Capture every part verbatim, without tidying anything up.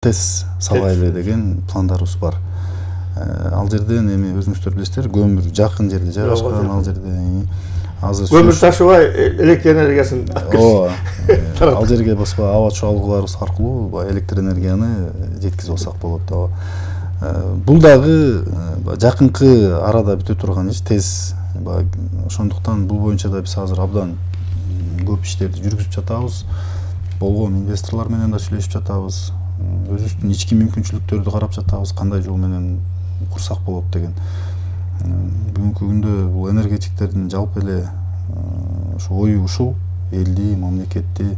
тез салайлы деген пландарыбыз бар. Ал жерден эми өзүңүздөр билесиздер, көмүр жакын жерде жайгашкан, ал жерде азыр көмүр ташыбай электр энергиясын ооба. Ал жерге баспа аба чуалгыларыбыз аркылуу электр энергияны жеткизип алсак болот. Бул дагы жакынкы арада бүтө турган иш, тез. Ошондуктан бул боюнча да биз азыр абдан көп иштерди жүргүзүп жатабыз. Болгон инвесторлор менен да сүйлөшүп жатабыз. Өзүбүздүн ички мүмкүнчүлүктөрдү карап жатабыз, кандай жол менен курсак болот деген. Бүгүнкү күндө бул энергетиктердин жалпы эле ошо ою ушул элди, мамлекетти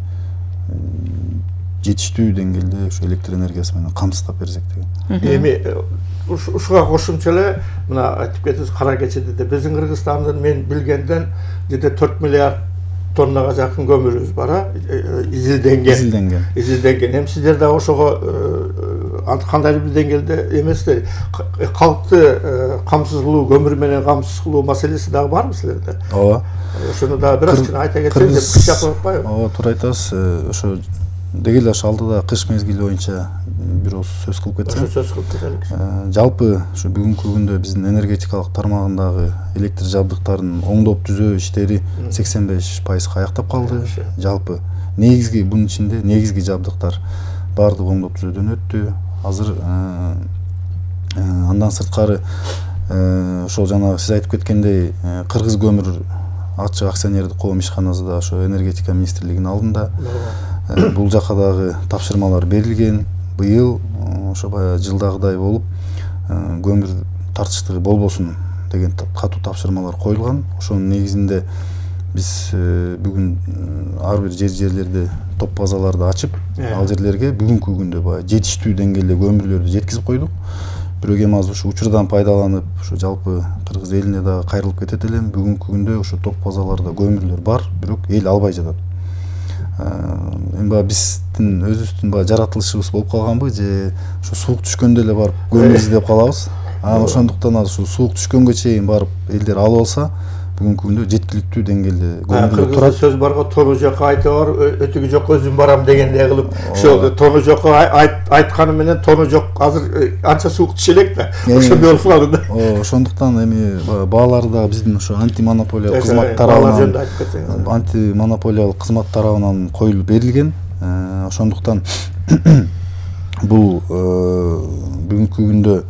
жетиштүү деңгээлде ошо электр энергиясы менен камсыздап берсек деген. Эми ушуга кошумча эле мына айтып кетиңиз, кара кечеде де биздин Кыргызстандын мен билгенден жерде төрт миллиард тоннага жакын көмүрүбүз бар, изилденген. Изилденген. Изилденген. Эми сиздер дагы ошого кандайдыр бир деңгээлде эместер, калкты камсыз кылуу, көмүр менен камсыз кылуу маселеси дагы барбы силерде? Ооба. Ошону дагы бир аз айта кетсеңиз, кыш жакып атпайбы? Ооба, туура айтасыз. Ошо деги эле ошо алдыда кыш мезгили боюнча бир ооз сөз кылып кетсем. Ошо сөз кылып кетелик. Жалпы ушу бүгүнкү күндө биздин энергетикалык тармагындагы электр жабдыктарын оңдоп түзөө иштери сексен беш пайызга аяктап калды. Жалпы негизги бунун ичинде негизги жабдыктар баардыгы оңдоп түзөөдөн өттү. Азыр андан сырткары ошол жанагы сиз айтып кеткендей Кыргыз көмүр ачык акционердик коом ишканасы да ошо энергетика министрлигинин алдында. Бул жака дагы тапшырмалар берилген. Быйыл ошо баягы жылдагыдай болуп көмүр тартыштыгы болбосун деген катуу тапшырмалар коюлган. Ошонун негизинде биз бүгүн ар бир жер жерлерде топ базаларды ачып, ал жерлерге бүгүнкү күндө баягы жетиштүү деңгээлде көмүрлөрдү жеткизип койдук. Бирок эми азыр ушу учурдан пайдаланып, ошо жалпы Кыргыз элине дагы кайрылып кетет элем. Бүгүнкү күндө ошо топ базаларда көмүрлөр бар, бирок эл албай жатат. Эми баягы биздин өзүбүздүн баягы жаратылышыбыз болуп калганбы, же ошо суук түшкөндө эле барып көмүр издеп калабыз. Анан ошондуктан азыр ушул суук түшкөнгө чейин барып элдер алып алса, бүгүнкү күндө жеткиликтүү деңгээлде көмүрлөр турат. Сөз барго, тону жокко айта бар, өтүгү жок өзүм барам дегендей кылып, ошо тону жокко айтканы менен тону жок азыр анча суук түшө элек да. Ошондой болуп калды да. Ошондуктан эми баалары да биздин ошо антимонополиялык кызмат тарабынан антимонополиялык кызмат тарабынан коюлуп берилген. Ошондуктан бул бүгүнкү күндө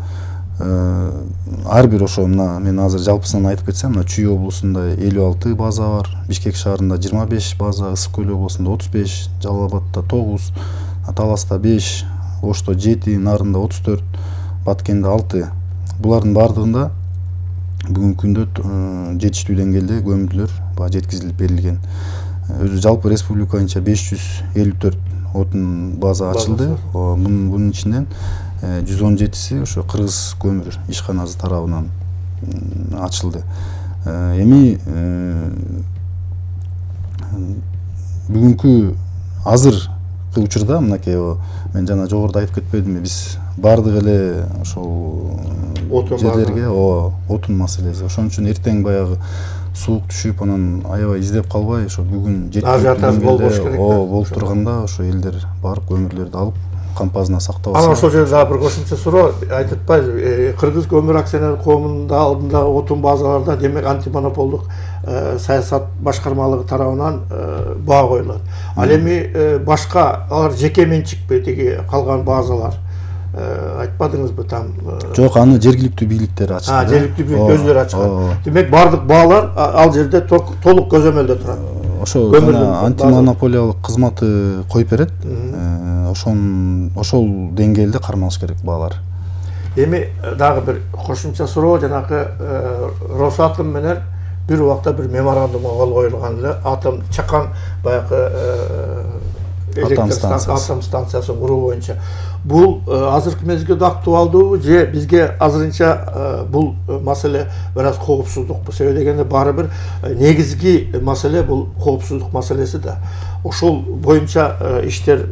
ар бир ошо мына мен азыр жалпысынан айтып кетсем, мына Чүй облусунда элүү алты база бар, Бишкек шаарында жыйырма беш база, Ысык көл облусунда отуз беш, Жалал абадта тогуз, Таласта беш, Ошто жети, Нарында отуз төрт, Баткенде алты. Булардын баардыгында бүгүнкү күндө жетиштүү деңгээлде көмүрлөр баягы жеткизилип берилген. Өзү жалпы республика боюнча беш жүз элүү төрт отун база ачылды. Мунун ичинен жүз он жетиси ошо Кыргыз көмүр ишканасы тарабынан ачылды. Эми бүгүнкү азыркы учурда мынакей мен жана жогоруда айтып кетпедимби, биз баардык эле ошол жерлерге отун маселеси. Ошон үчүн эртең баягы суук түшүп, анан аябай издеп калбай, ошо бүгүн жеткиликтүү болуп турганда ошо элдер барып көмүрлөрдү алып кампазына сактап алса. Анан ошол жерде дагы бир кошумча суроо айтып атпайбыз. Кыргыз көмүр акционерлик коомунун алдында отун базаларда демек антимонополдук саясат башкармалыгы тарабынан баа коюлат. Ал эми башка алар жеке менчикпи тиги калган базалар? Айтпадыңызбы там? Жок, аны жергиликтүү бийликтер ачты. А, жергиликтүү бийлик өздөрү ачкан. Демек бардык баалар ал жерде толук көзөмөлдө турат. Ошо антимонополиялык кызматы коюп берет. Ошон ошол деңгээлде кармалыш керек баалар. Эми дагы бир кошумча суроо, жанагы Росатом менен бир убакта бир меморандумга кол коюлган эле, атом чакан баягы атом станциясын куруу боюнча. Бул азыркы мезгилде актуалдуубу же бизге азырынча бул маселе бир аз коопсуздукпу? Себеби дегенде баары бир негизги маселе бул коопсуздук маселеси да. ошол боюнча иштер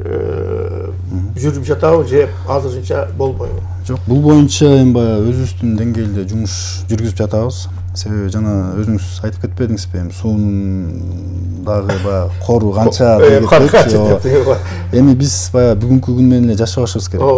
жүрүп жатабы же азырынча болбойбу? Жок, бул боюнча эми баягы өзүбүздүн деңгээлде жумуш жүргүзүп жатабыз. Себеби жана өзүңүз айтып кетпедиңизби, эми суунун дагы баягы кору канча деп кетчү. Эми биз баягы бүгүнкү күн менен эле жашабашыбыз керек.